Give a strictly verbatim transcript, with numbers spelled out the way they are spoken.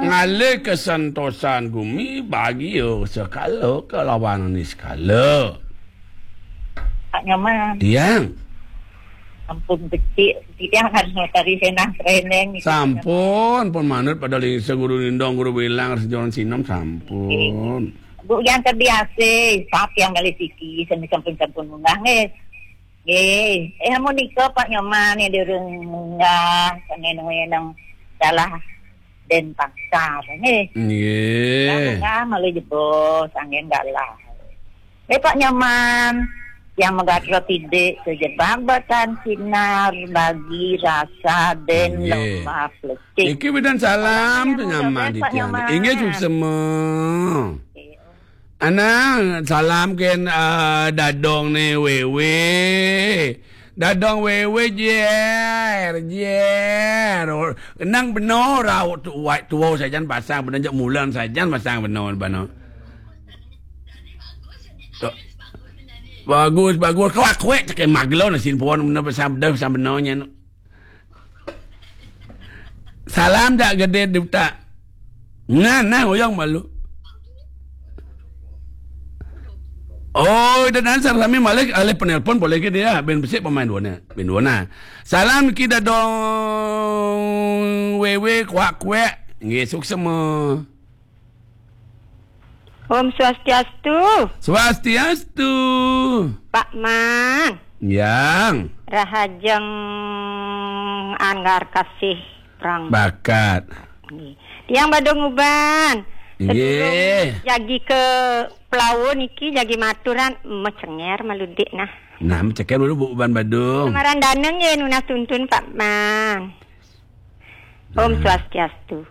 Ngalih kesantosan gumi bagia sekala kelawan niskala. Pak Nyoman. Tiang. Ampun becik. Tiang harus notari senang treneng. Sampun, pun manut pada lingsa guru nindong, guru bilang, sejoran sinem, sampun. Bu yang terbiasa, sap yang malih siki, sami sampun-sampun munggah nggih. Nggih. Eh, amun nika Pak Nyoman yang durung munggah, sami nang dalah Denpasar nggih. Nggih. Munggah malih jebos, anggen dalah. Eh, Pak Nyoman, yang megatro tidik sejebak batan sinar bagi rasa den Nggih. Lembah Plecik. Iki bidan salam Salam, nyaman Pak titiang. Nyoman. Inggih suksema. Anang salam ken uh, dadong ne wewe. Dadong wewe jer jer. Nang beno rau tuwa tuwa sajan pasang beno jak mulan sajan pasang beno beno. Tu. Bagus bagus, kawak kuek cek maglon asin puan beno pasang beno pasang beno nyen. Salam dak gede duta. Nah, nah, oyong malu. Oh, dan ansar sami malik alih penelpon boleh ke dia ben besik pemain dua na. Ben dua na. Salam kita dong wewe kuak kuek. Nggih suksema. Om Swastiastu, Swastiastu. Pak Man. Yang Rahajeng Anggar Kasih Prang. Bakat. Nggih. Tiang badung uban. Nggih. Jagi ke Pelawo niki jagi maturan mecenger maludik nah. Nah, mecenger malu bu uban badung. Semaran daneng nggih nunas tuntun Pak Man. Om Swastiastu.